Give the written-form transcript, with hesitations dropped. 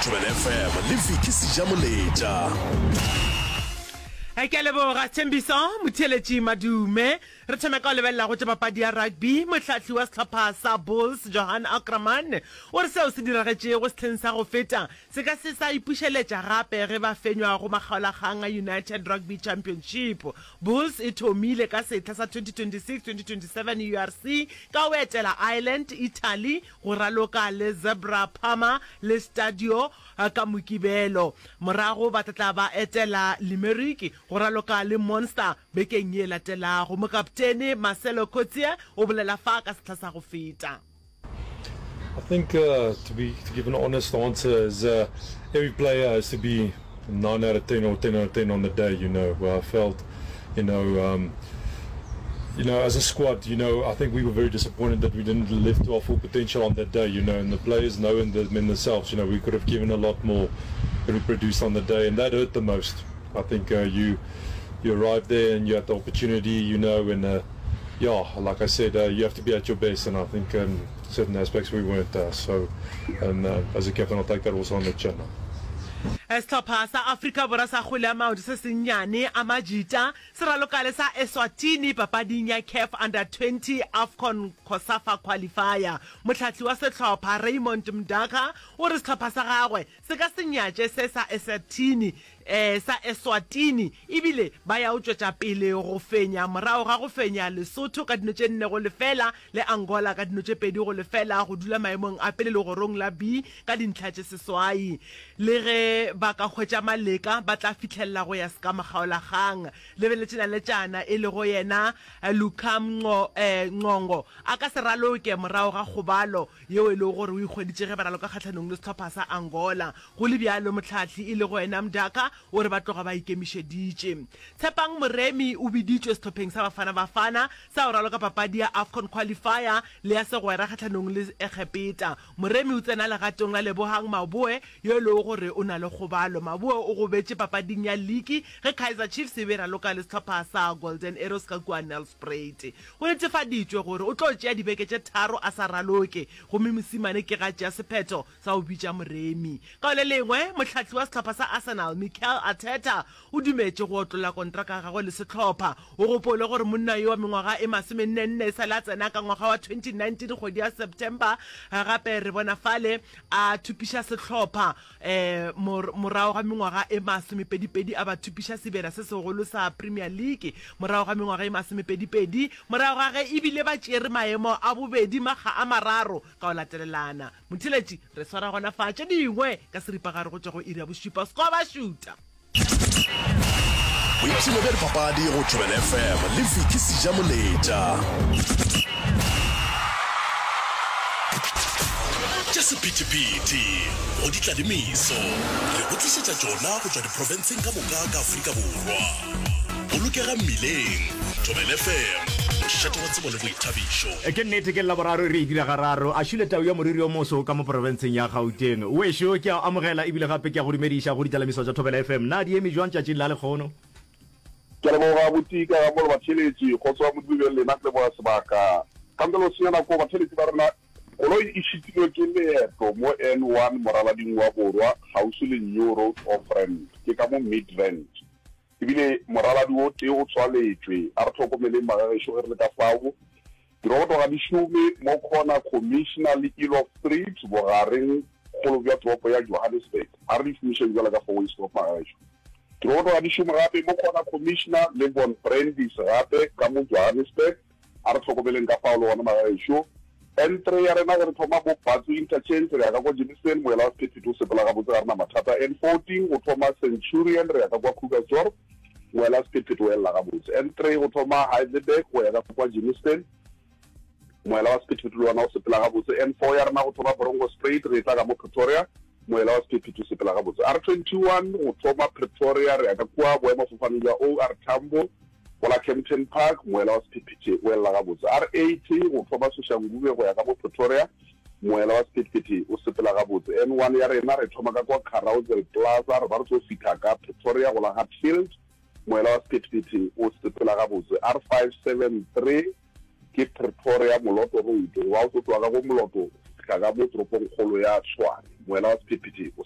Thobela FM le Vicky Sejamoletša. Ke a leboga Thembiso Motheeletši Madume. Re thome ka go lebelela go tša papadi ya rugby. Mohlahli wa sehlopha sa Bulls, Johan Ackermann, o re seo se diragetšego sehleng sa go feta se ka se sa ipušeletša gape ge ba fenywa go makgaolakgang a United Rugby Championship. Bulls e thomile ka sehla sa 2026-2027 URC ka go etela Ireland, Italy, go raloka le Zebra Parma le Stadio ka Mokibelo. Morago ba tla tla ba etela Limerick go raloka le Munster bekeng ye latelago. Mokaptene Marcelo Coetzee o bolela fa ka sehla sa go feta. I think uh, to be to give an honest answer is uh, every player has to be 9 out of 10 or 10 out of 10 on the day, you know, where I felt, you know, um, you know, as a squad, you know, I think we were very disappointed that we didn't live to our full potential on that day, you know, and the players know in, the, in themselves, you know, we could have given a lot more than we produced on the day, and that hurt the most. I think uh, you you arrived there and you had the opportunity, you know, and uh, yeah, like I said, uh, you have to be at your best, and I think um, certain aspects we weren't. Uh, so, and uh, as a captain, I'll take that also on the chin. Sehlopha sa Afrika Borwa sa kgwele ya maoto se sennyane, Amajita, se raloka le sa Eswatini papading ya CAF Under 20 AFCON COSAFA Qualifier. Mohlahli wa sehlopha, Raymond Mdaka, o re sehlopha sa gagwe se ka se nyatše se sa Eswatini sa Eswatini ebile ba ya o tšwetša pele go fenya morago ga go fenya Lesotho ka dino tše 4-0 le Angola ka dino tše 2-0 go dula maemong a pele legorong la B ka dintlha tše seswai. Le ge ba ka hwetša maleka ba tla fihlelela go ya seka makgaolakgang. Lebeletše naletšana e lego yena Luka Mnqongo a ka se raloke morago ga kgobalo yeo e lego gore o ikgweditše ge ba raloka kgahlanong le sehlopha sa Angola. Go le bjalo, mohlahli e lego yena Mdaka o re ba tloga ba ikemišeditše. Tshepang Moremi o biditšwe sehlopheng sa Bafana Bafana sa go raloka papadi ya Afcon Qualifier le ya segwera kgahlanong le Egepeta. Moremi o tsena legatong la Lebohang Maboe yo e lego gore o na le kgobalo. Maboe o gobetše papading ya liki ge Kaizer Chiefs e be e raloka le sehlopha sa Golden Arrows ka kua Nelspruit. Go netefaditšwe gore o tlo tšea dibeke tše tharo a sa raloke, gomme Mosimane ke ga tšea sephetho sa go bitša Moremi. Ka go le lengwe, mohlahli wa sehlopha sa Arsenal, Mikel Arteta, o dumetše go otlolla kontraka ya gagwe le sehlopha. O gopole gore monna yo wa mengwaga e masomennenne e sa le a tsena ka ngwaga wa 2019 kgwedi ya September, gape re bona fale a thupiša sehlopha Morago ga mengwaga e masomepedipedi a ba thupiša sebjana se segolo sa Premier League morago ga mengwaga e masomepedipedi morago ga ge e bile ba tšere maemo a bobedi makga a mararo ka go latelelana. Motheeletši, re swara gona fa tše dingwe ka seripagare go tšwa go iri ya bošupa. Score ba šuta! Boipshino bja dipapadi go Thobela FM le Vicky Sejamoletša. Tša sephethephethe go di tla le meso, re go tlišetša tšona go tšwa diprofenseng ka moka ka Afrika Borwa. Bolokega mmileng, Thobela FM, mošate wa tsebo le boithabišo. Ke nnete ke Laboraro re e dira gararo. A šule tau ya moriri o moso ka mo profenseng ya Gauteng. Wešo, ke a o amogela ebile gape ke a go dumediša go ditlalamiso tša Thobela FM. Na di eme jwang tšatšing la lekgono? Ke a leboga abuti ka ga molo batheeletši. Kgotso ya Modimo e be le lena. Ke leboga sebaka. Ka ntle le go senya nako batheeletši ba rena, koloi e šitilwe ke leeto mo N1 moralading wa Borwa kgauswi le New Road Off-Ramp. Ke ka mo Midrand. Ebile moraladi o tee o tswaletšwe. A re hlokomeleng magagešo ge re le ka fao. Diroboto ga di šome mo Corner Commissioner le Eloff Street, bogareng kgolo bja toropo ya Johannesburg. A re di šomišeng bjalo ka four-way stop magagešo. Diroboto ga di šome gape mo Corner Commissioner le Von Brandis gape ka mo Johannesburg. A re hlokomeleng ka fao le gona magagešo. N3 ya rena ge re thoma bo Batsu Interchange re ya ka kwa Germiston, moela wa sephethephethe o sepela gabotse ga re na mathata. N14 go thoma Centurion re ya ka kwa Krugersdorp, moela wa sephethephethe o elela gabotse. N3 go thoma Heidelberg go ya ka kwa Germiston, moela wa sephethephethe le wona o sepela gabotse. N4 ya rena go thoma Bronkhorstspruit re etla ka mo Pretoria, moela wa sephethephethe o sepela gabotse. R21 go thoma Pretoria re ya ka kua boemafofaneng bja OR Tambo, Go la Kempton Park, moela wa sephethephethe o elela gabotse. R80 go thoma Soshanguve go ya ka bo Pretoria, moela wa sephethephethe o sepela gabotse. N1 ya rena re thoma ka kwa Carousel Plaza re ba re tlo fihla ka Pretoria go la Hatfield, moela wa sephethephethe o sepela gabotse. R573 ke Pretoria Moloto Road, goba o tlo tloga ka go Moloto go fihla ka mo toropongkgolo ya Tshwane, moela wa sephethephethe o.